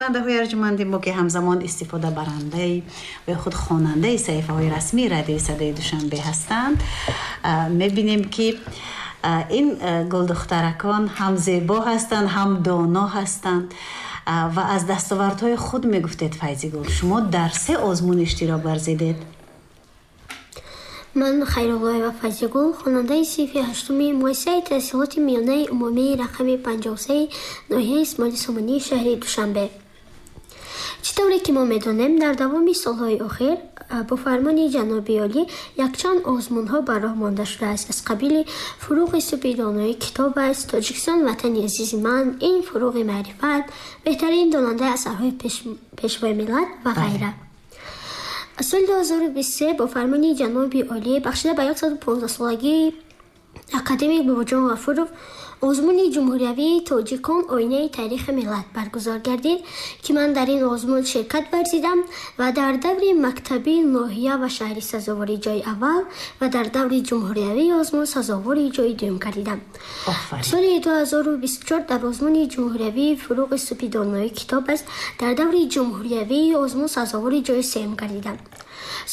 Шунавандаҳои арҷманди мо, ки ҳамзамон истифодабарандаи ва худ хонандаи саҳифаҳои расмии Радиои Садои Душанбе ҳастанд, мебинем, ки ин гулдухтаракон ҳам зебо ҳастанд, ҳам доно ҳастанд ва аз дастовардҳои худ мегуфтед. Файзигул, шумо дар се озмун иштирок варзидед. Ман Хайруллоева Файзигул, хонандаи синфи ҳаштуми муассисаи таҳсилоти миёнаи умумии рақами 53 ноҳияи Исмоили Сомонии шаҳри Душанбе. Чӣ тавре ки мо медонем, дар давоми солҳои охир бо фармони ҷаноби олӣ якчанд озмунҳо ба роҳ монда шудааст, аз қабили «Фурӯғи субҳи донои китоб аст», «Тоҷикистон ватани азизи ман», ин «Фурӯғи маърифат», «Беҳтарин донандаи асарҳои Пешвои миллат» ва ғайра. Соли 2023 бо фармони ҷаноби олӣ бахшида ба 115-солагии академик Бобоҷон Ғафуров озмуни ҷумҳуриявии «Тоҷикон оинаи таърихи миллат» баргузор гардид, ки ман дар ин озмун ширкат варзидам ва дар даври мактабии ноҳия ва шаҳрӣ сазовори ҷои аввал ва дар даври ҷумҳуриявии озмун сазовори ҷои дуюм гардидам. Соли 2024 дар озмуни ҷумҳуриявии «Фурӯғи субҳи донои китоб аст» дар даври ҷумҳуриявии озмун сазовори ҷои сеюм гардидам.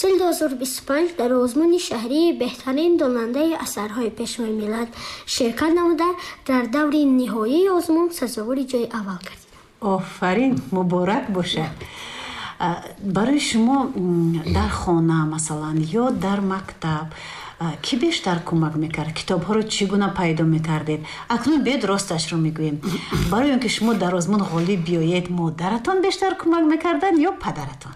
Соли 2025 дар озмуни шаҳрии «Беҳтарин донандаи асарҳои Пешвои миллат» ширкат намуда, дар даври ниҳоии озмун сазовори ҷои аввал гардидам. Офарин, муборак бошад. Барои шумо дар хона, масалан, ё дар мактаб кӣ бештар кӯмак мекард? Китобҳоро чӣ гуна пайдо мекардед? Акнун биёед, росташро мегӯем: барои он ки шумо дар озмун ғолиб биёед, модаратон бештар кӯмак мекарданд ё падаратон?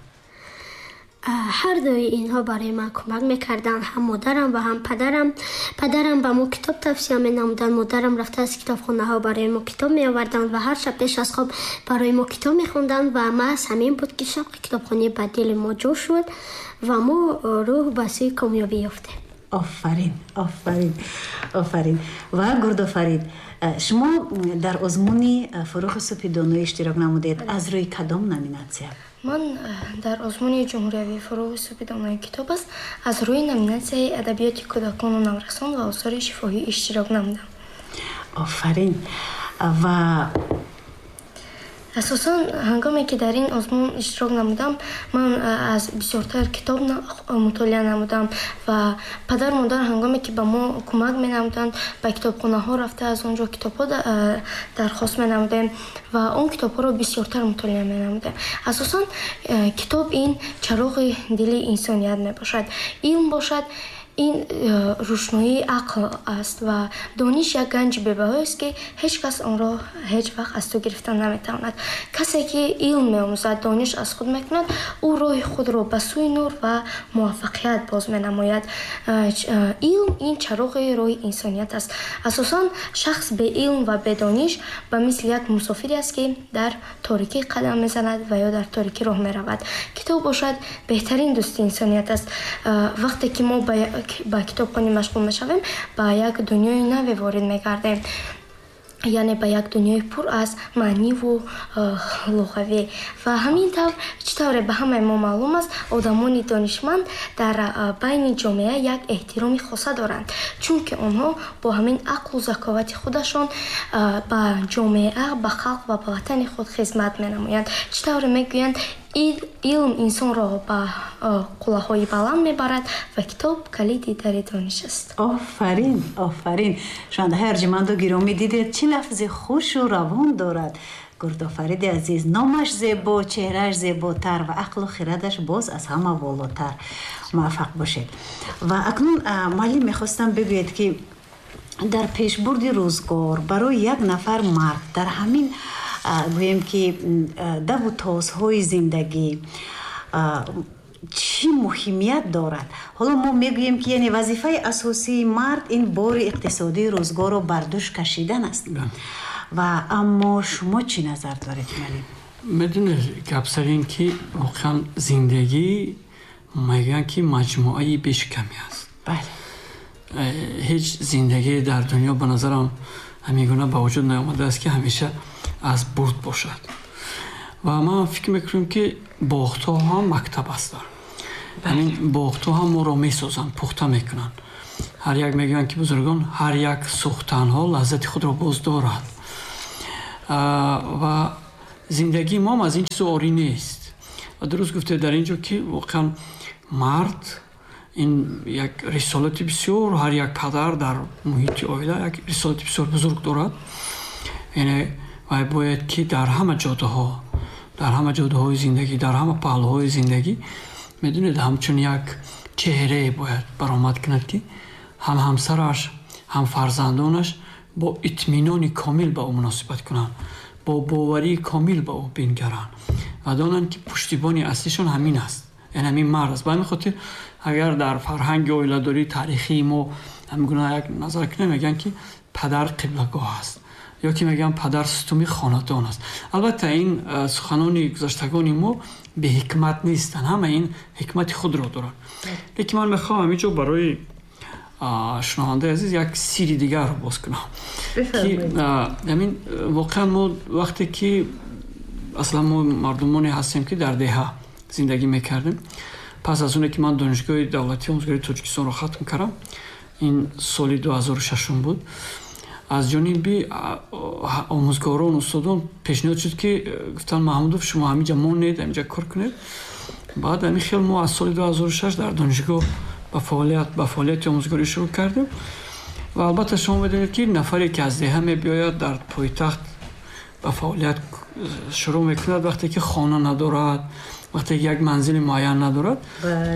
Ҳар дуи инҳо барои ман кӯмак мекарданд, ҳам модарам ва ҳам падарам. Падарам ба мо китоб тавсия менамуданд, модарам рафта аз китобхонаҳо барои мо китоб меоварданд ва ҳар шаб пеш аз хоб барои мо китоб мехонданд. Ва маҳз ҳамин буд, ки шавқи китобхонӣ ба дили мо ҷо шуд ва мо рӯҳ ба сӯи комёбӣ ёфтем. Офарин, офарин, офарин! Ва Гурдофарид, шумо дар озмуни «Фурӯғи субҳи доноӣ» иштирок намудед. Аз рӯи кадом номинатсия? Ман дар озмуни ҷумҳуриявии «Фурӯғи субҳи донои китоб аст» аз рӯи номинатсияи адабиёти кӯдакону наврасон ва осори шифоҳӣ иштирок намудам. Офарин! Ва Асосан, ҳангоме ки дар ин озмун иштирок намудам, ман аз бисёртар китоб мутолиа намудам ва падару модар, ҳангоме ки ба мо кӯмак менамуданд, ба китобхонаҳо рафта, аз он ҷо китобҳо дархост менамудем ва он китобҳоро бисёртар мутолиа менамудем. Асосан, китоб ин чароғи дили инсоният мебошад, илм бошад, ин рӯшноии ақл аст ва дониш як ганҷи бебаҳоест, ки ҳеҷ кас онро ҳеҷ вақт аз ту гирифта наметавонад. Касе ки илм меомӯзад, дониш аз худ мекунад, ӯ роҳи худро ба сӯи нур ва муваффақият боз менамояд. Илм ин чароғи роҳи инсоният аст. Асосан, шахс беилм ва бедониш ба мисли як мусофире аст, ки дар торикӣ қадам мезанад ва ё дар торикӣ роҳ меравад. Китоб бошад, беҳтарин дӯсти инсоният аст. Вақте ки мо ба китобхонӣ машғул мешавем, ба як дунёи наве ворид мегардем, яъне ба як дунёи пур аз маъниву луғавӣ. Ва ҳамин тавр, чӣ тавре ба ҳамаи мо маълум аст, одамони донишманд дар байни ҷомеа як эҳтироми хоса доранд, чунки онҳо бо ҳамин ақлу заковати худашон ба ҷомеа, ба халқ ва ба ватани худ хизмат менамоянд. Чӣ тавре мегӯянд, илм инсонро ба қуллаҳои баланд мебарад ва китоб калиди дари дониш аст. Офарин, офарин! Шунавандаҳои арҷманду гиромӣ, дидед, чӣ лафзи хушу равон дорад Гурдофариди азиз. Номаш зебо, чеҳрааш зеботар ва ақлу хирадаш боз аз ҳама волотар. Муваффақ бошед! Ва акнун, муаллим, мехостам бигӯед, ки дар пешбурди рӯзгор барои як нафар мард дар ҳамин, гӯем ки, даву тозҳои зиндагӣ чӣ муҳимият дорад? Ҳоло мо мегӯем, ки яъне вазифаи асосии мард ин бори иқтисодии рӯзгорро бар дӯш кашидан аст. Ва аммо шумо чӣ назар доред, муаллим? Медонед, гап сар ин ки воқеан зиндагӣ, мегӯянд ки, маҷмӯаи бешикамӣ аст. Ҳеҷ зиндагие дар дунё, ба назарам, ҳамин гуна ба вуҷуд наомадааст, ки ҳамеша аз бурд бошад. Ва ман фикр мекунам, ки бохтҳо ҳам мактаб ҳастанд. Ҳамин бохтҳо ҳам моро месозанд, пухта мекунанд. Ҳар як, мегӯянд ки бузургон, ҳар як сӯхтанҳо лаззати худро боз дорад. Ва Зиндагии мо ҳам аз ин чиз орӣ нест. Ва дуруст гуфте дар ин ҷо, ки воқеан мард ин як рисолати бисёр, ҳар як падар дар муҳити оила як рисолати бисёр бузург дорад. Яъне вай бояд ки дар ҳама ҷодаҳо, дар ҳама ҷодаҳои зиндагӣ, дар ҳама паҳлӯҳои зиндагӣ, медонед, ҳамчун як чеҳрае бояд баромад кунад, ки ҳам ҳамсараш, ҳам фарзандонаш бо итминони комил ба ӯ муносибат кунанд, бо боварии комил ба ӯ бингаранд ва донанд, ки пуштибони аслишон ҳамин аст, яъне ҳамин мард аст. Ба ҳамин хотир, агар дар фарҳанги оиладории таърихии мо ҳамин гуна як назар кунем, мегӯянд, ки падар қиблагоҳ аст, ё ки мегӯянд падар сутуни хонадон аст. Албатта, ин суханони гузаштагони мо беҳикмат нестанд, ҳама ин ҳикмати худро доранд. Лекин ман мехоҳам ҳамин ҷо барои шунавандаи азиз як сири дигарро боз кунам, ки ҳамин воқеан мо вақте ки аслан мо мардумоне ҳастем, ки дар деҳа зиндагӣ мекардем. Пас аз оне ки ман Донишгоҳи давлатии омӯзгории Тоҷикистонро хатм кардам, ин соли 2006 буд, аз ҷониби омӯзгорон, устодон пешниҳод шуд, ки гуфтанд: «Маҳмудов, шумо ҳаминҷа монед, ҳаминҷа кор кунед». Баъд ҳамин хел мо аз соли 2006 дар донишгоҳ ба фаъолияти омӯзгорӣ шурӯъ кардем. Ва албатта, шумо медонед, ки нафаре ки аз деҳа мебиёяд, дар пойтахт ба фаъолият шурӯъ мекунад, вақте ки хона надорад, вақте ки як манзили муайян надорад,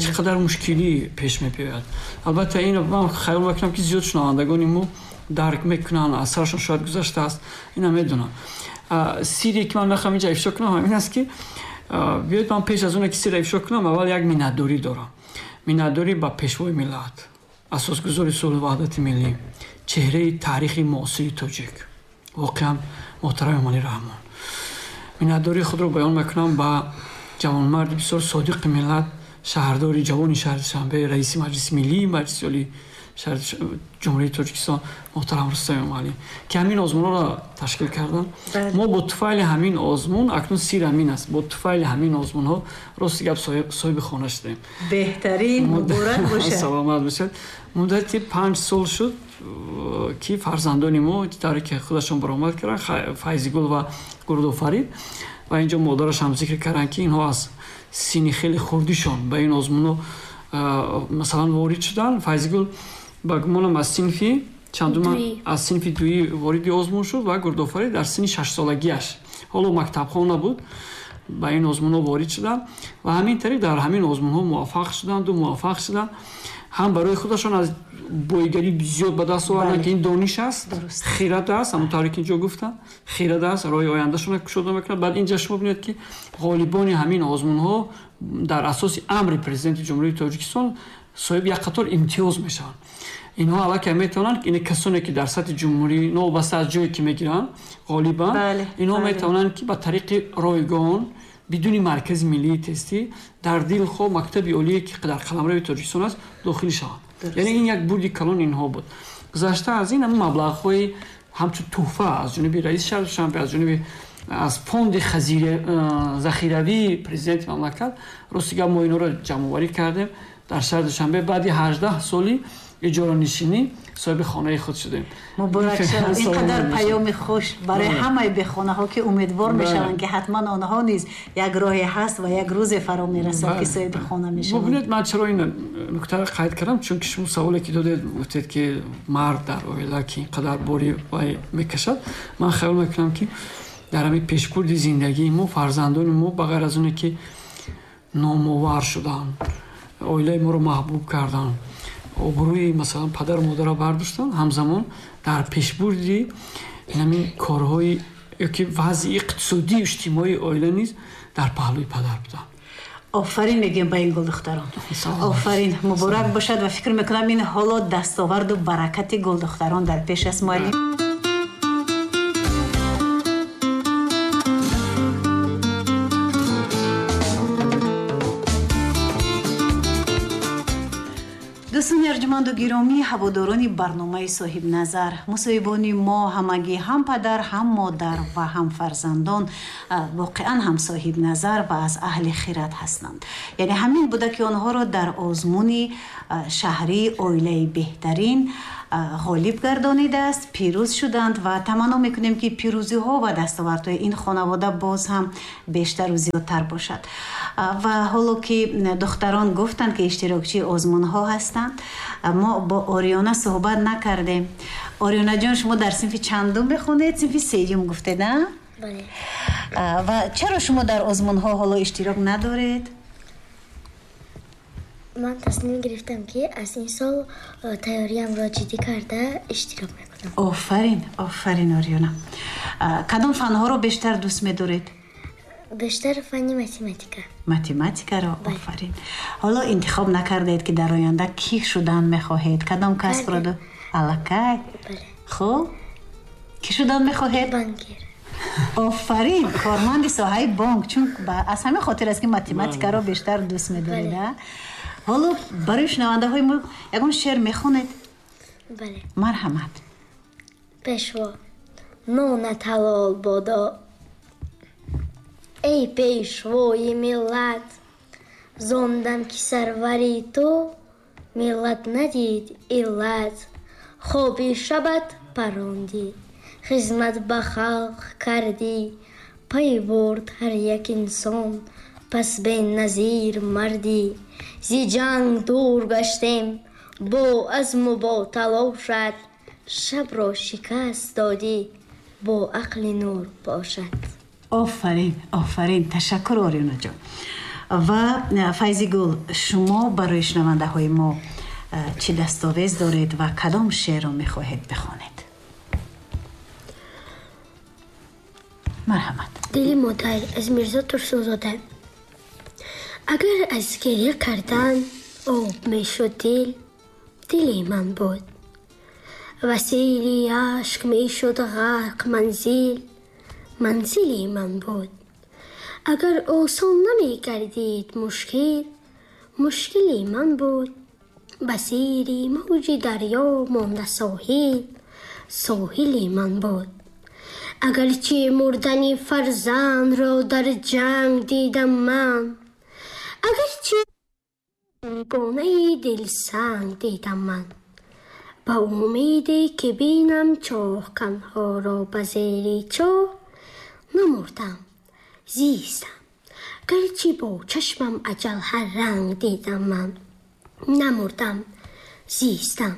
чӣ қадар мушкилӣ пеш мебиёяд. Албатта, инро ман хаёл мекунам, ки зиёд шунавандагони мо дарк мекунанд, аз сарашон шояд гузаштааст, ина медонам. Сире ки ман мехоҳам инҷа ифшо кунам, ҳамин аст, ки биёед, ман пеш аз оне ки сирро ифшо кунам, аввал як миннатдорӣ дорам. Миннатдорӣ ба Пешвои миллат, асосгузори сулҳу ваҳдати миллӣ, чеҳраи таърихи муосири тоҷик, воқеан муҳтарам Эмомалӣ Раҳмон. Миннатдории худро баён мекунам ба ҷавонмарди бисёр содиқи миллат, шаҳрдори ҷавони шаҳри Душанбе, раиси Маҷлиси миллии Маҷлиси Олии шаҳри Ҷумҳурии Тоҷикистон муҳтарам Рустам Эмомалӣ, ки ҳамин озмунҳоро ташкил карданд. Мо бо туфайли ҳамин озмун, акнун сир ҳамин аст, бо туфайли ҳамин озмунҳо, рости гап, соҳиби хона шудем. Беҳтарин, муборак бошад. Саломат бошад. Муддати 5 сол шуд, ки фарзандони мо тавре ки худашон баромад карданд, Файзигул ва Гурдофарид, ва инҷо модараш ҳам зикр карданд, ки инҳо аз синни хеле хурдишон ба ин озмунҳо масалан ворид шуданд. Файзигул, ба гумонам, аз синфи чандума, аз синфи дуӣ вориди озмун шуд ва Гурдофарид дар синни 6-солагиаш, ҳоло мактабхон набуд, ба ин озмунҳо ворид шуданд ва ҳамин тариқ дар ҳамин озмунҳо муваффақ шуданду муваффақ шуданд. Ҳам барои худашон аз боигарӣ зиёд ба даст оварданд, ки ин дониш аст, хирад аст, ҳамон тавре ки инҷо гуфтам, хирад аст, роҳи ояндашонро кушода мекунад. Баъд инҷа шумо бинед, ки ғолибони ҳамин озмунҳо дар асоси амри Президенти Ҷумҳурии Тоҷикистон соҳиби як қатор имтиёз мешаванд. Инҳо аллакай метавонанд, ин касоне ки дар сатҳи ҷумҳурӣ, новобаста аз ҷое ки мегиранд, ғолибанд, инҳо метавонанд, ки ба тариқи ройгон, бидуни Маркази миллии тестӣ, дар дилхоҳ мактаби олие, ки дар қаламрави Тоҷикистон аст, дохил шаванд. Яъне ин як бурди калон инҳо буд. Гузашта аз ин, ҳамин маблағҳои ҳамчун тӯҳфа аз ҷониби раиси шаҳри Душанбе, аз ҷониби аз фонди захиравии президенти мамлакат, рости гап, мо инҳоро ҷамъоварӣ кардем. Дар шаҳри Душанбе баъди 18 соли иҷоранишинӣ соҳиби хонаи худ шудем. Муборак шавад! Ин қадар паёми хуш барои ҳамаи бехонаҳо, ки умедвор мешаванд, ки ҳатман онҳо низ як роҳе ҳаст ва як рӯзе фаро мерасад, ки соҳиби хона мешаванд. Бубинед, ман чаро ин нуктаро қайд кардам? Чунки шумо саволе ки додед, гуфтед, ки мард дар оила ки ин қадар бори вай мекашад. Ман хаёл мекунам, ки дар ҳамин пешбурди зиндагии мо фарзандони мо, ба ғайр аз оне ки номовар шуданд, оилаи моро маҳбуб карданд, обрӯи масалан падару модарро бардоштанд, ҳамзамон дар пешбурди ҳамин корҳои ёки вазъи иқтисодию иҷтимоии оила низ дар паҳлӯи падар буданд. Офарин мегӯем ба ин гулдухтарон, офарин, муборак бошад. Ва фикр мекунам, ин ҳоло дастоварду баракати гулдухтарон дар пеш аст, муаллим. Дӯстони арҷуманду гиромӣ, ҳаводорони барномаи Соҳибназар, мусоҳибони мо ҳамагӣ ҳам падар, ҳам модар ва ҳам фарзандон воқеан ҳам соҳибназар ва аз аҳли хират ҳастанд. Яъне ҳамин буда, ки онҳоро дар озмуни шаҳрии оилаи беҳтарин ғолиб гардонидааст, пирӯз шуданд ва таманно мекунем, ки пирӯзиҳо ва дастовардҳои ин хонавода боз ҳам бештару зиёдтар бошад. Ва ҳоло ки духтарон гуфтанд, ки иштирокчии озмунҳо ҳастанд, мо бо Ориёна суҳбат накардем. Ориёнаҷон, шумо дар синфи чандум мехонед? Синфи сеюм гуфтед, а? Бале. Ва чаро шумо дар озмунҳо ҳоло иштирок надоред? Ман тасмим гирифтам, ки аз ин сол тайёриамро ҷиддӣ карда иштирок мекунам. Офарин, офарин, Ориёна. Кадом фанҳоро бештар дӯст медоред? Бештар фанни математика. Математикаро? Офарин. Ҳоло интихоб накардаед, ки дар оянда кӣ шудан мехоҳед, кадом касбро? Аллакай? Хуб, кӣ шудан мехоҳед? Банкир. Офарин, корманди соҳаи бонк. Чун аз ҳамин хотир аст, ки математикаро бештар дӯст медоред. Ҳоло барои шунавандаҳои мо ягон шеър мехонед? Бале. Марҳамат. Пешво, нонат ҳалол бодо, эй пешвои миллат, зондам ки сарвари ту миллат надид иллат. Хоби шабат парондӣ, хизмат ба халқ кардӣ, пай бурд ҳар як инсон, пас беназир мардӣ. Зи ҷанг дур гаштем бо азму бо талошат, шабро шикаст додӣ бо ақли нур бошад. Офарин, офарин, ташаккур, Ориёнаҷон. Ва Файзигул, шумо барои шунавандаҳои мо чӣ дастовез доред ва кадом шеърро мехоҳед бихонед? Марҳамат. Дили модар аз Мирзо Турсунзода. Агар аз гирья кардан об мешуд дил, дили ман буд. Васили ашк мешуд ғарқ манзил, манзили ман буд. Агар осон намегардид мушкил, мушкили ман буд. Ба зери мавҷи дарё монда соҳил, соҳили ман буд. Агарчи мурдани фарзандро дар ҷанг дидам ман, агарчи гонаи дилсанг дидам ман, ба умеде ки бинам чоҳканҳоро ба зери чоҳ, намурдам, зистам, гарчи бо чашмам аҷал ҳар ранг дидам ман. Намурдам, зистам,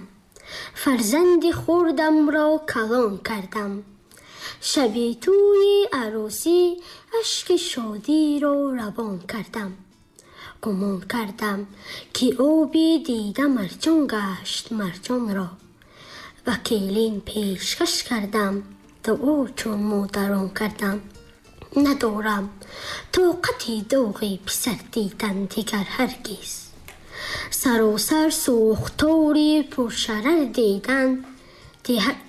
фарзанди хурдамро калон кардам, шаби тӯи арӯсӣ ашки шодиро равон кардам. Гумон кардам, ки оби дида марҷон гашт марҷонро, ва келин пешкаш кардам, дуо чун модарон кардам. Надорам тоқати доғи писар дидан дигар ҳаргиз, саросар сӯхтори пуршарар дидан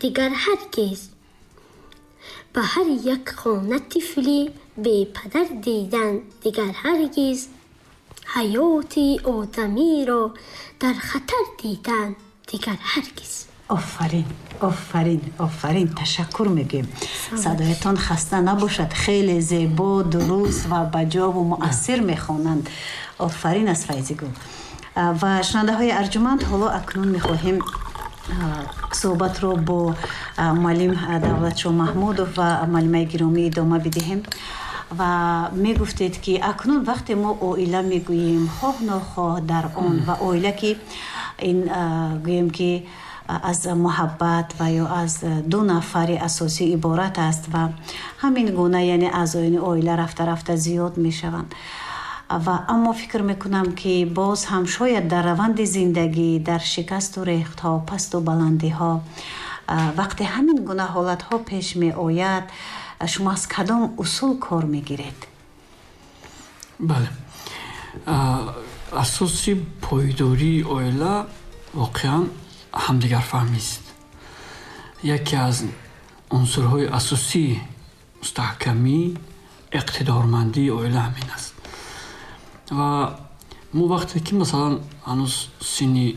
дигар ҳаргиз, ба ҳар як хона тифли бепадар дидан дигар ҳаргиз, ҳаёти одамиро дар хатар дидан дигар ҳаргиз. Офарин, офарин, офарин, ташаккур мегӯем. Садоятон хаста набошад, хеле зебо, дуруст ва баҷову муассир мехонанд. Офарин аз Файзигул. Ва шунавандаҳои арҷуманд, ҳоло акнун мехоҳем суҳбатро бо муаллим Давлатшо Маҳмудов ва муаллимаи гиромӣ идома бидиҳем. Ва мегуфтед, ки акнун вақте мо оила мегӯем, хоҳ нохоҳ дар он ва оила, ки ин гӯем, ки аз муҳаббат ва ё аз ду нафари асосӣ иборат аст ва ҳамин гуна, яъне аъзоёни оила рафта рафта зиёд мешаванд. Ва аммо фикр мекунам, ки боз ҳам шояд дар раванди зиндагӣ, дар шикасту рехтҳо, пасту баландиҳо, вақте ҳамин гуна ҳолатҳо пеш меояд, шумо аз кадом усул кор мегиред? Бале, асоси пойдории оила воқеан ҳамдигарфаҳмист. Яке аз унсурҳои асосии мустаҳкамӣ, иқтидормандии оила ҳамин аст. Ва мо вақте ки, масалан, ҳанӯз синни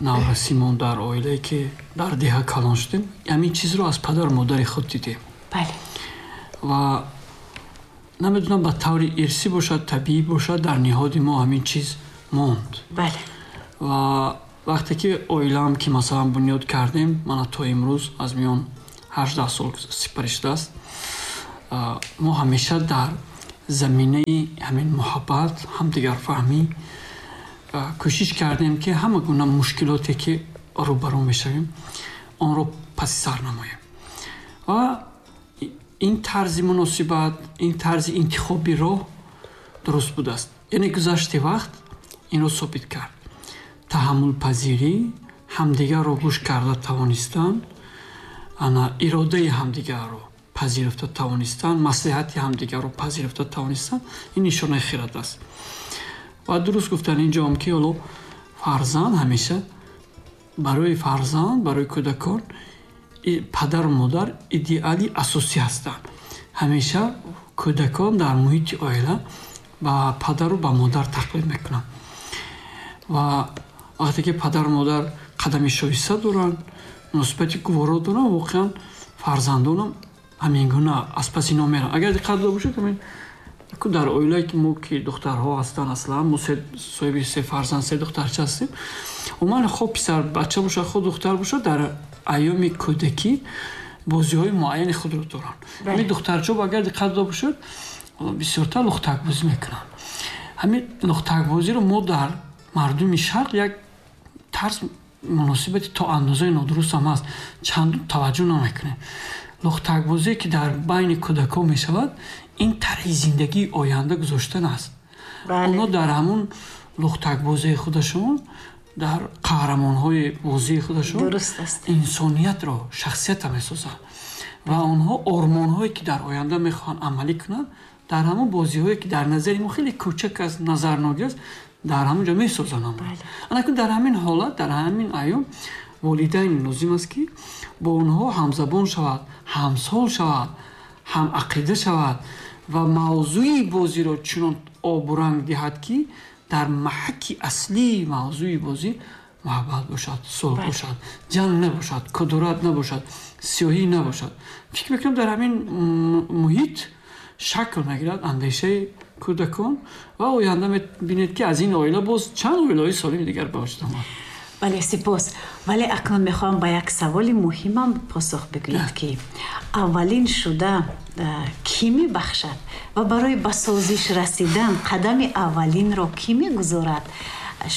Наврасимон дар оилае ки дар деҳа калон шудем, ҳамин чизро аз падару модари худ дидем. Ва намедонам, ба таври ирсӣ бошад, табиӣ бошад, дар ниҳоди мо ҳамин чиз монд. Ва вақте ки оилаам ки масалан бунёд кардем, мана то имрӯз аз миён 18 сол сипарӣ шудааст, мо ҳамеша дар заминаи ҳамин муҳаббат, ҳамдигарфаҳмӣ кӯшиш кардем, ки ҳама гуна мушкилоте ки рӯбарӯ мешавем, онро паси сар намоем. Ва ин тарзи муносибат, ин тарзи интихоби роҳ дуруст будааст. Яъне гузашти вақт инро собит кард: таҳаммулпазирӣ, ҳамдигарро гӯш карда тавонистан, ана иродаи ҳамдигарро пазируфта тавонистан, маслиҳати ҳамдигарро пазируфта тавонистан, ин нишонаи хирад аст. Ва дуруст гуфтан инҷоам, ки ҳоло фарзанд ҳамеша барои фарзанд, барои кӯдакон падару модар идеали асосӣ ҳастанд. Ҳамеша кӯдакон дар муҳити оила ба падару ба модар тақлид мекунанд. Ва вақте ки падару модар қадами шоиста доранд, муносибати гуворо доранд, воқеан фарзандонам ҳамин гуна аз паси ино мераванд. Агар диққат дода бошед, ҳамин дар оилае ки мо ки духтарҳо ҳастанд, аслан мо соҳиби се фарзанд, се духтарча ҳастем, умуман хо писар бача бошад, хо духтар бошад, дар айёми кӯдакӣ бозиҳои муайяни худро доранд. Ҳамин духтарчаҳо, агар диққат дода бошед, бисёртар лухтакбозӣ мекунанд. Ҳамин лухтакбозиро мо дар мардуми шарқ як тарз муносибати то андозаи нодуруст ҳам ҳаст, чандон таваҷҷӯҳ намекунем. Лухтакбозие ки дар байни кӯдакон мешавад, ин тарҳи зиндагии оянда гузоштан аст. Онҳо дар ҳамун лухтакбозии худашон, дар қаҳрамонҳои бозии худашон инсониятро, шахсиятро месозанд. Ва онҳо ормонҳое ки дар оянда мехоҳанд амалӣ кунанд, дар ҳамон бозиҳое ки дар назари мо хеле кӯчак аст, назарногир аст, дар ҳамон ҷо месозанд. Анакун дар ҳамин ҳолат, дар ҳамин айём волидайн лозим аст, ки бо онҳо ҳамзабон шавад, ҳамсол шавад, ҳамақида шавад ва мавзӯи бозиро чунон обуранг диҳад, ки дар маҳаки аслии мавзӯи бозӣ муҳаббат бошад, сулҳ бошад, ҷанг набошад, кудурат набошад, сиёҳӣ набошад. Фикр мекунам, дар ҳамин муҳит шакл мегирад андешаи кӯдакон ва оянда мебинед, ки аз ин оила боз чанд оилаҳои солими дигар ба вуҷуд омад. Бале, сипос. Вале акнун мехоҳам ба як саволи муҳимам посух бигӯед, ки аввалин шуда кӣ мебахшад ва барои ба созиш расидан қадами аввалинро кӣ мегузорад,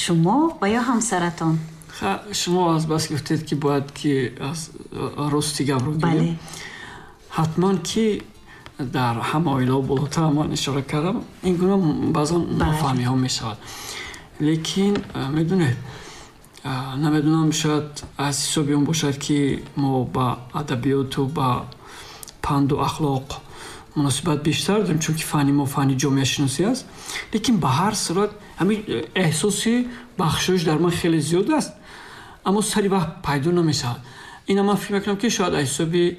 шумо ва ё ҳамсаратон? Шумо аз бас гуфтед, ки бояд ки аз рости гапро гирем, ҳатман ки дар ҳама оилаҳо, болотар ман ишора кардам, ин гуна баъзан нофаҳмиҳо мешавад. Лекин медонед, намедонам, шояд аз ҳисоби он бошад, ки мо ба адабиёту ба панду ахлоқ муносибат бештар дорем, чунки фанни мо фанни ҷомеашиносӣ аст. Лекин ба ҳар сурат ҳамин эҳсоси бахшоиш дар ман хеле зиёд аст, аммо сари вақт пайдо намешавад. Ина ман фикр мекунам, ки шояд аз ҳисоби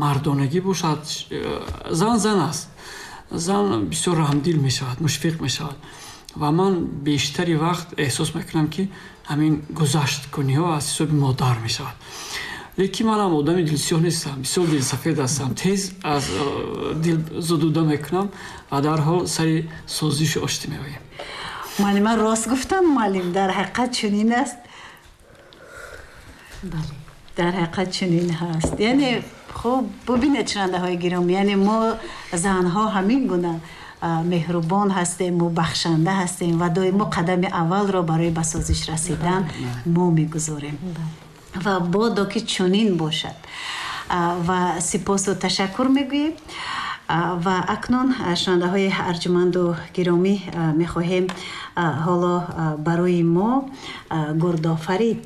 мардонагӣ бошад. Зан зан аст, зан бисёр раҳмдил мешавад, мушфиқ мешавад. Ва ман бештари вақт эҳсос мекунам, ки ҳамин гузашткуниҳо аз ҳисоби модар мешавад. Лекин манам одами дилсиёҳ нестам, бисёр дилсафед ҳастам, тез аз дил зудуда мекунам ва дарҳол сари созишу оштӣ меоем. Муаллима рост гуфтам, муаллим, дар ҳақиқат чунин аст? Бале, дар ҳақиқат чунин ҳаст. Яъне хуб, бубинед, шунавандаҳои гиромӣ, яъне мо занҳо ҳамин гуна меҳрубон ҳастем, мо бахшанда ҳастем ва доимо қадами аввалро барои ба созиш расидан мо мегузорем. Ва бодо ки чунин бошад. Ва сипосу ташаккур мегӯем. Ва акнун, шунавандаҳои арҷуманду гиромӣ, мехоҳем ҳоло барои мо Гурдофарид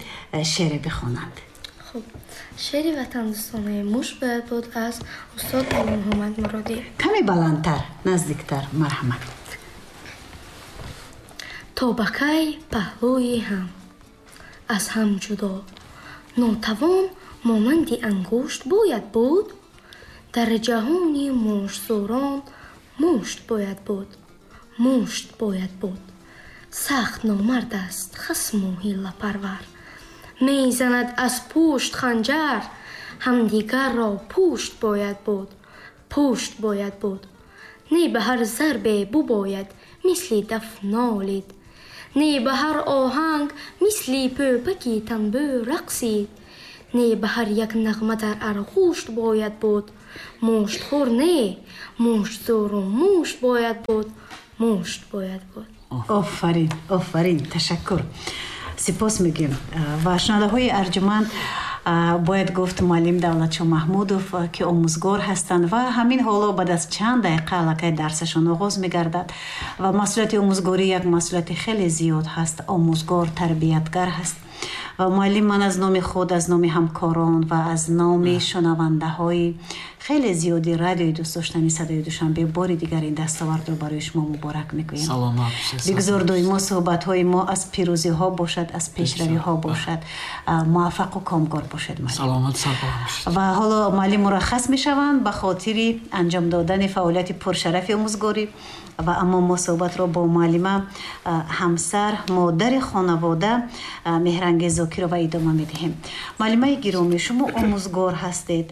шеъре бихонанд. Хуб, шеъри ватандӯстонаи «Мушт бояд буд» аз устод Алимуҳаммад Муродӣ. Каме баландтар, наздиктар, марҳамат. То ба кай паҳлӯи ҳам, аз ҳам ҷудо, нотавон монанди ангушт бояд буд? Дар ҷаҳони муштзорон мушт бояд буд, мушт бояд буд. Сахт номард аст хасму ҳиллапарвар. Мезанад аз пушт ханҷар, ҳамдигарро пушт бояд буд, пушт бояд буд. Не ба ҳар зарбе бубояд мисли даф нолид, не ба ҳар оҳанг мисли пӯпаки танбӯ рақсид, не ба ҳар як нағма дар арғушт бояд буд, муштхӯр не, муштзӯру мушт бояд буд, мушт бояд буд. Офарин, офарин, ташаккур. Сипос мегӯем. Ва шунавандаҳои арҷуманд, бояд гуфт, муаллим Давлатшо Маҳмудов, ки омӯзгор ҳастанд ва ҳамин ҳоло баъд аз чанд дақиқа аллакай дарсашон оғоз мегардад ва масъулияти омӯзгорӣ як масъулияти хеле зиёд ҳаст. Омӯзгор тарбиятгар ҳаст ва муаллим, ман аз номи худ, аз номи ҳамкорон ва аз номи шунавандаҳои хеле зиёди радиои дӯстдоштани Садои Душанбе бори дигар ин дастовардро барои шумо муборак мегӯем. Саломат бошед. Бигзор доимо суҳбатҳои мо аз пирӯзиҳо бошад, аз пешравиҳо бошад. Муваффақу комгор бошед, муаллим. Саломат, сарбаланд бошед. Ва ҳоло муаллим мураххас мешаванд ба хотири анҷом додани фаъолияти пуршарафи омӯзгорӣ. Ва аммо мо суҳбатро бо муаллима, ҳамсар, модари хонавода Меҳрангез Зокирова идома медиҳем. Муаллимаи гиромӣ, шумо омӯзгор ҳастед.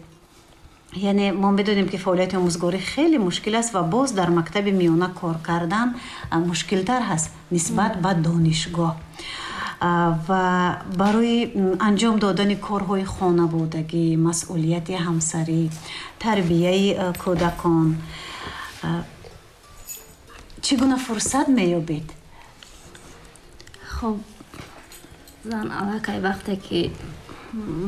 Яъне мо медонем, ки фаъолияти омӯзгорӣ хеле мушкил аст ва боз дар мактаби миёна кор кардан мушкилтар ҳаст нисбат ба донишгоҳ. Ва барои анҷом додани корҳои хонаводагӣ, масъулияти ҳамсарӣ, тарбияи кӯдакон чӣ гуна фурсат меёбед? Хоб, зан аллакай вақте ки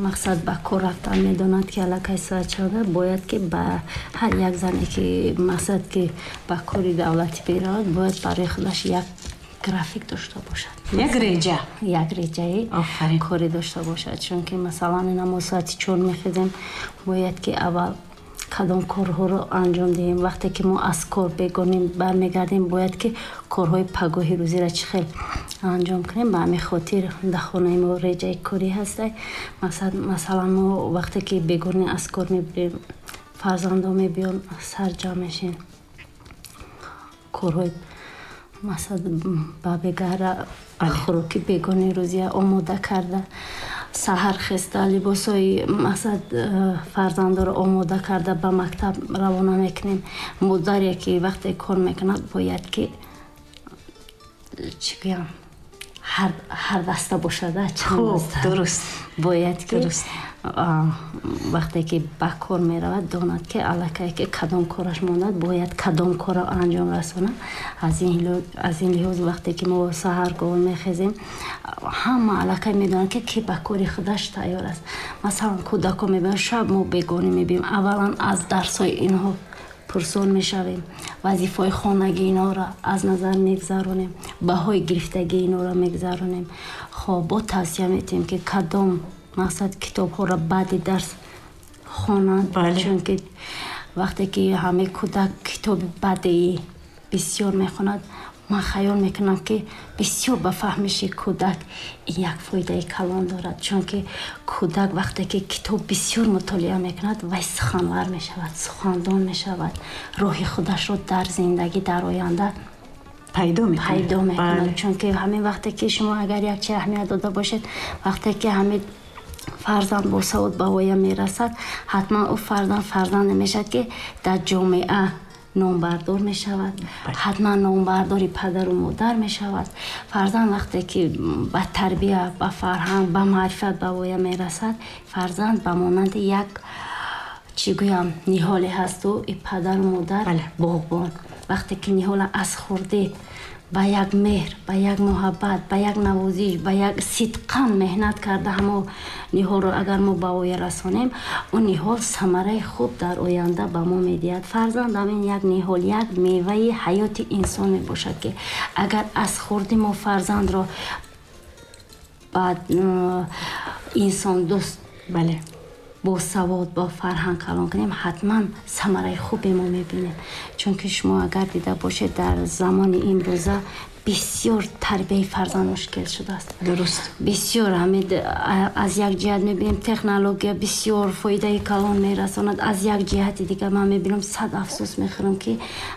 мақсад ба кор рафтан медонад, ки аллакай соат чанда бояд, ки ба ҳар як зане ки мақсад ки ба кори давлатӣ меравад, бояд барои худаш як график дошта бошад. Як реҷа. Як реҷаи корӣ дошта бошад, чунки масалан ина мо соати 4 мехезем, бояд ки аввал кадом корҳоро анҷом диҳем. Вақте ки мо аз кор бегонем бармегардем, бояд ки корҳои пагоҳи рӯзиро чӣ хел анҷом кунем. Ба ҳамин хотир дар хонаи мо реҷаи корӣ ҳаста. Масалан, мо вақте ки бегонӣ аз кор мебирем, фарзандо мебиён, сарҷамъ мешем, корҳои масалан ба бегара хӯроки бегони рӯзия омода карда, саҳар хеста, либосҳои масалан фарзандоро омода карда ба мактаб равона мекунем. Модаре ки вақте кор мекунад, бояд ки, чӣ гӯям, ҳар даста бошад. Хуб, дуруст. Бояд ки вақте ки ба кор меравад, донад ки аллакай ки кадом кораш мондад, бояд кадом корро анҷом расонад. Аз ин лиҳоз вақте ки мо саҳаргоҳ мехезем, ҳама аллакай медонанд, ки ки ба кори худаш тайёр аст. Масалан, кӯдакҳо мебиёнд, шаб мо бегонӣ мебиём, аввалан аз дарсҳои инҳо пурсон мешавем, вазифаҳои хонагии инҳоро аз назар мегузаронем, баҳои гирифтагии инҳоро мегузаронем. Хоб, бо тавсия метиҳем, ки кадом мақсад китобҳоро баъди дарс хонанд, чунки вақте ки ҳамаи кӯдак китоби бадеӣ бисёр мехонад, ман хаёл мекунам, ки бисёр ба фаҳмиши кӯдак ин як фоидаи калон дорад, чунки кӯдак вақте ки китоб бисёр мутолиа мекунад, вай суханвар мешавад, сухандон мешавад, роҳи худашро дар зиндагӣ дар оянда пайдо мекунад. Чунки ҳамин вақте ки шумо агар як чи аҳамият дода бошед, вақте ки ҳамин фарзанд босавод ба воя мерасад, ҳатман ӯ фарзанд фарзанде мешавад, ки дар ҷомеа номбардор мешавад, ҳатман номбардори падару модар мешавад. Фарзанд вақте ки ба тарбия, ба фарҳанг, ба маърифат ба воя мерасад, фарзанд ба монанди як, чӣ гӯям, ниҳоле ҳасту и падару модар боғбон. Вақте ки ниҳола аз хурдӣ ба як меҳр, ба як муҳаббат, ба як навозиш, ба як сидқан меҳнат карда, ҳамо ниҳолро агар мо ба воя расонем, он ниҳол самараи хуб дар оянда ба мо медиҳад. Фарзанд ҳамин як ниҳол, як меваи ҳаёти инсон мебошад, ки агар аз хурдӣ мо фарзандро ба инсондӯст, босавод, бо фарҳанг калон кунем, ҳатман самараи хубе мо мебинем. Чунки шумо агар дида бошед, дар замони имрӯза бисёр тарбияи фарзанд мушкил шудааст. Дуруст. Бисёр ҳамин аз як ҷиҳат мебинем, технология бисёр фоидаи калон мерасонад, аз як ҷиҳати дигар ман мебинам, сад афсӯс мехӯрам, ки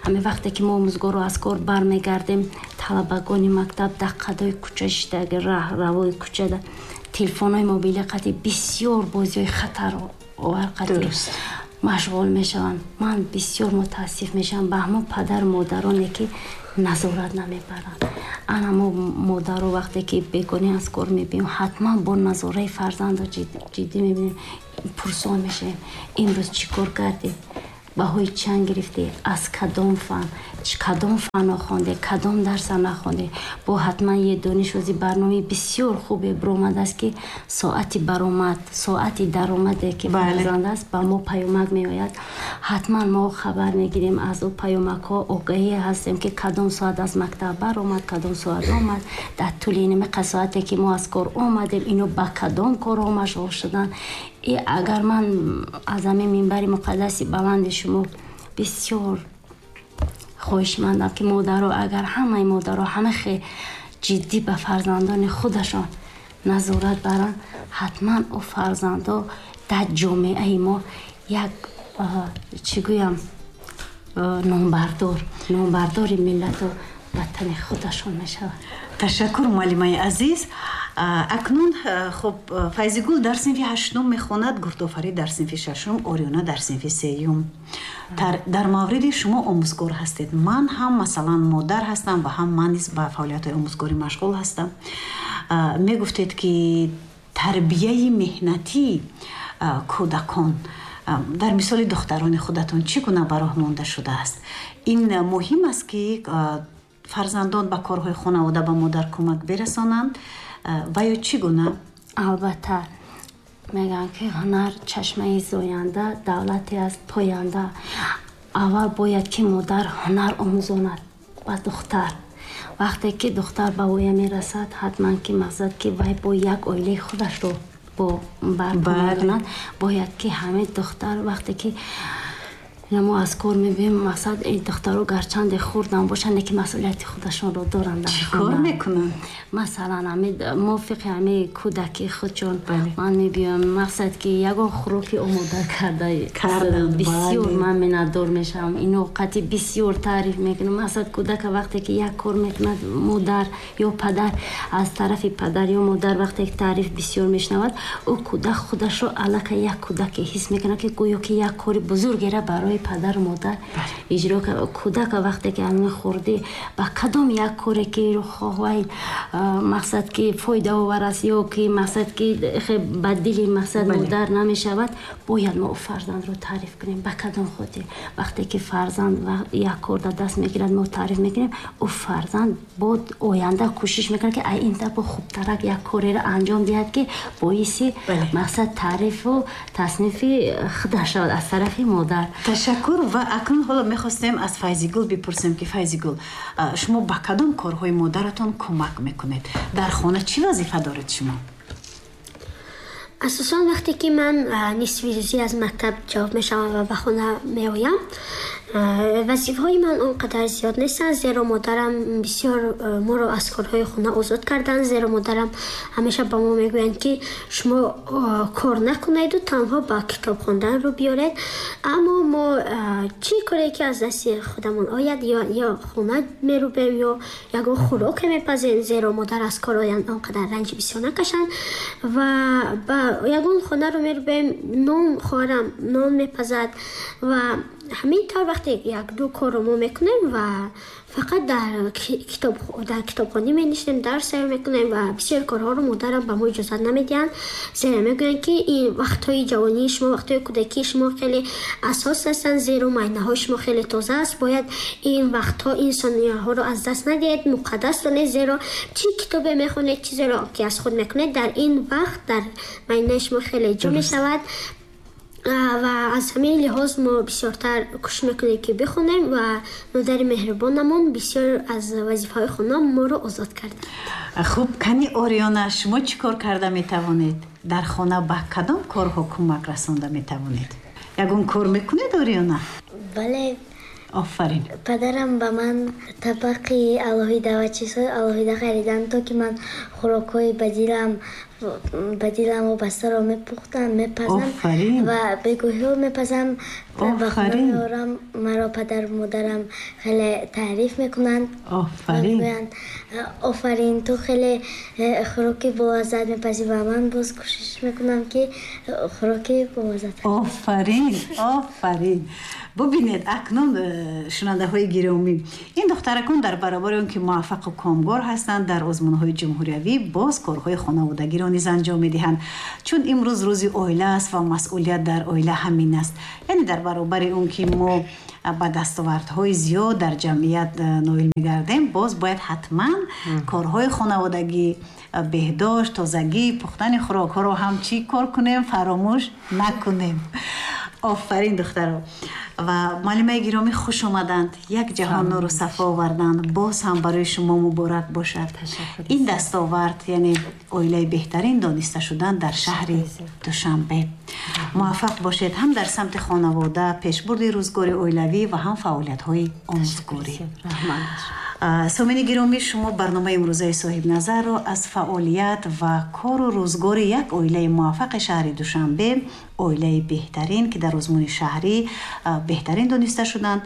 ҳамин вақте ки мо омӯзгорро аз кор бармегардем, Талабагони мактаб дар қадои кӯча шидаги, равои кӯчада телефонҳои мобилӣ қати бисёр бозиҳои хатаровар қати машғул мешаванд. Ман бисёр мутаассиф мешавам ба ҳамон падару модароне, ки назорат намебаранд. Ана мо модаро вақте ки бегонӣ аз кор мебиём, ҳатман бо назораи фарзандо ҷиддӣ мебинем, пурсон мешавем: имрӯз чӣ кор кардӣ, баҳои чанд гирифтӣ, аз кадом фан, кадом фанро хонде, кадом дарса нахонде. Бо ҳатман е донишози барномаи бисёр хубе баромадааст, ки соати баромад, соати даромаде ки фарзанд аст, ба мо паёмак меояд. Ҳатман мо хабар мегирем аз ӯ паёмакҳо, огаҳӣ ҳастем, ки кадом соат аз мактаб баромад, кадом соат омад, дар тӯли инамиқа соате ки мо аз кор омадем, ино ба кадом корҳо машғул шуданд. И агар ман аз ҳамин минбари муқаддаси баланди шумо бисёр хоҳишмандам, ки модаро, агар ҳамаи модаро ҳама хе ҷиддӣ ба фарзандони худашон назорат баранд, ҳатман ӯ фарзандо дар ҷомеаи мо як, чӣ гӯям, номбардори миллату ватани худашон мешавад. Ташаккур, муаллимаи азиз. Акнун хуб, Файзигул дар синфи ҳаштум мехонад, Гурдофарид дар синфи шашум, Ориёна дар синфи сеюм. Дар мавриди шумо омӯзгор ҳастед, ман ҳам масалан модар ҳастам ва ҳам ман низ ба фаъолиятҳои омӯзгорӣ машғул ҳастам. Мегуфтед, ки тарбияи меҳнатии кӯдакон дар мисоли духтарони худатон чӣ гуна ба роҳ монда шудааст? Ин муҳим аст, ки фарзандон ба корҳои хонавода ба модар кӯмак бирасонанд ва ё чӣ гуна? Албатта, мегӯянд, ки ҳунар чашмаи зоянда, давлате аст поянда. Аввал бояд ки модар ҳунар омӯзонад ба духтар. Вақте ки духтар ба воя мерасад, ҳатман ки мақсад ки вай бо як оилаи худашро бо барпо мекунад, бояд ки ҳамин духтар вақте ки мо аз кор мебием, мақсад ин духтаро гарчанде хурдам бошанд, лекин масъулияти худашонро доранд. Чӣ кор мекунанд? Масалан, мувофиқи ҳамин кӯдаки худшон ман мебиём, мақсад ки ягон хӯроки омода карда бисёр ман миннатдор мешавам. Ино қати бисёр таъриф мекунам. Мақсад кӯдака вақте ки як кор мекунад, модар ё падар, аз тарафи падар ё модар вақте ки таъриф бисёр мешунавад, ӯ кӯдак худашро аллакай як кӯдаке ҳис мекунад, ки гӯё ки як кори бузургеро барои падару модар иҷро кард. Кӯдака вақте ки ҳамин хурдӣ ба кадом як коре ки хоҳ мақсад ки фоидаовар аст ё ки мақсад ки ба дили мақсад модар намешавад, бояд мо фарзандро таъриф кунем. Ба кадом хотир? Вақте ки фарзанд як кор дар даст мегирад, мо таъриф мекунем, ӯ фарзанд бо оянда кӯшиш мекунад, ки ай ин бо хубтарак як кореро анҷом диҳад, ки боиси мақсад таърифу таснифи худаш шавад аз тарафи модар. Ташаккур. Ва акнун ҳоло мехостем аз Файзигул бипурсем, ки Файзигул, шумо ба кадом корҳои модаратон кӯмак мекунед? Дар хона чӣ вазифа доред шумо? Асосан вақте ки ман нисфи рӯзӣ аз мактаб ҷавоб мешавам ва ба хона меоям, вазифаҳои ман он қадар зиёд нестанд, зеро модарам бисёр моро аз корҳои хона озод карданд, зеро модарам ҳамеша ба мо мегӯянд, ки шумо кор накунеду танҳо ба китоб хондан рӯ биёред. Аммо мо чӣ коре ки аз дасти худамон ояд, ё хона мерӯбем, ё ягон хӯроке мепазем, зеро модар аз кор оянд, он қадар ранҷи бисёр накашанд, ва ба ягон хонаро мерӯбем, нон, хоҳарам нон мепазад ва ҳамин тавр вақте як-ду корро мо мекунем ва фақат дар китобхонӣ менишинем, дарс тайёр мекунем ва бисёр корҳоро модарам ба мо иҷозат намедиҳанд, зеро мегӯянд, ки ин вақтҳои ҷавонии шумо, вақтҳои кӯдакии шумо хеле асос ҳастанд, зеро майнаҳои шумо хеле тоза аст, бояд ин вақтҳо, ин сонияҳоро аз даст надиҳед, муқаддас донед, зеро чӣ китобе мехонед, чизеро ки аз худ мекунед, дар ин вақт дар майнаи шумо хеле ҷо мешавад. Ва аз ҳамин лиҳоз мо бисёртар кӯшиш мекунем, ки бихонем, ва модари меҳрубонамон бисёр аз вазифаҳои хона моро озод кард. Хуб, кани Ориёна, шумо чӣ кор карда метавонед? Дар хона ба кадом корҳо кӯмак расонда метавонед? Ягон кор мекунед, Ориёна? Бале. Офарин. Падарам ба ман табақи алоҳида ва чизҳои алоҳида хариданд, то ки ман хӯрокҳои ба дилам Ба дилам вобастаро мепухтам, мепазам ва бегоҳиҳо мепазам, ба хона меорам. Маро падару модарам хеле таъриф мекунанд. Мегӯянд: офарин, ту хеле хӯроки болаззат мепазӣ. Ва ман боз кӯшиш мекунам, ки хӯроки болаззат. Офарин, офарин! Бубинед акнун, шунавандаҳои гиромӣ, ин духтаракон дар баробари он ки муваффақу комгор ҳастанд дар озмунҳои ҷумҳуриявӣ, боз корҳои хонаводагиро низ анҷом медиҳанд, чун имрӯз рӯзи оила аст ва масъулият дар оила ҳамин аст. Яъне дар баробари он ки мо ба дастовардҳои зиёд дар ҷамъият ноил мегардем, боз бояд ҳатман корҳои хонаводагӣ, беҳдошт, тозагӣ, пухтани хӯрокҳоро ҳам чӣ кор кунем, фаромӯш накунем. Офарин, духтаро! Ва муаллимаи гиромӣ, хуш омаданд, як ҷаҳон нуру сафо оварданд. Боз ҳам барои шумо муборак бошад ин дастовард, яъне оилаи беҳтарин дониста шудан дар шаҳри Душанбе. Муваффақ бошед ҳам дар самти хонавода, пешбурди рӯзгори оилавӣ ва ҳам фаъолиятҳои омӯзгорӣ. Сомини гиромӣ, шумо барномаи имрӯзаи Соҳибназарро аз фаъолият ва кору рӯзгори як оилаи муваффақи шаҳри Душанбе, оилаи беҳтарин, ки дар озмуни шаҳрӣ беҳтарин дониста шуданд,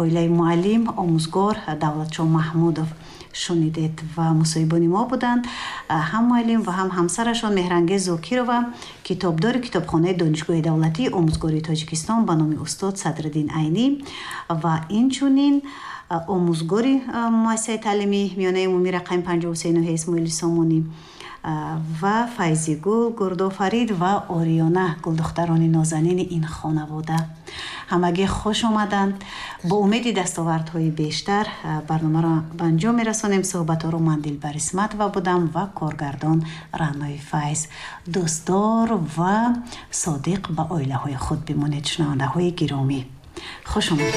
оилаи муаллим, омӯзгор Давлатшо Маҳмудов шунидед. Ва мусоҳибони мо буданд ҳам муаллим ва ҳам ҳамсарашон Меҳрангез Зокирова, китобдори китобхонаи Донишгоҳи давлатии омӯзгории Тоҷикистон ба номи устод Садриддин Айнӣ ва инчунин омӯзгори муассисаи таълимии миёнаи умумӣ рақами 53 ноҳияи Исмоили Сомонӣ, ва Файзигул, Гурдофарид ва Ориёна, гулдухтарони нозанини ин хонавода. Ҳамагӣ хуш омаданд. Бо умеди дастовардҳои бештар барномаро ба анҷом мерасонем. Суҳбатҳоро ман, Дилбар Исматова, будам ва коргардон Раънои Файз. Дӯстдор ва содиқ ба оилаҳои худ бимонед, шунавандаҳои гиромӣ. Хуш омадед.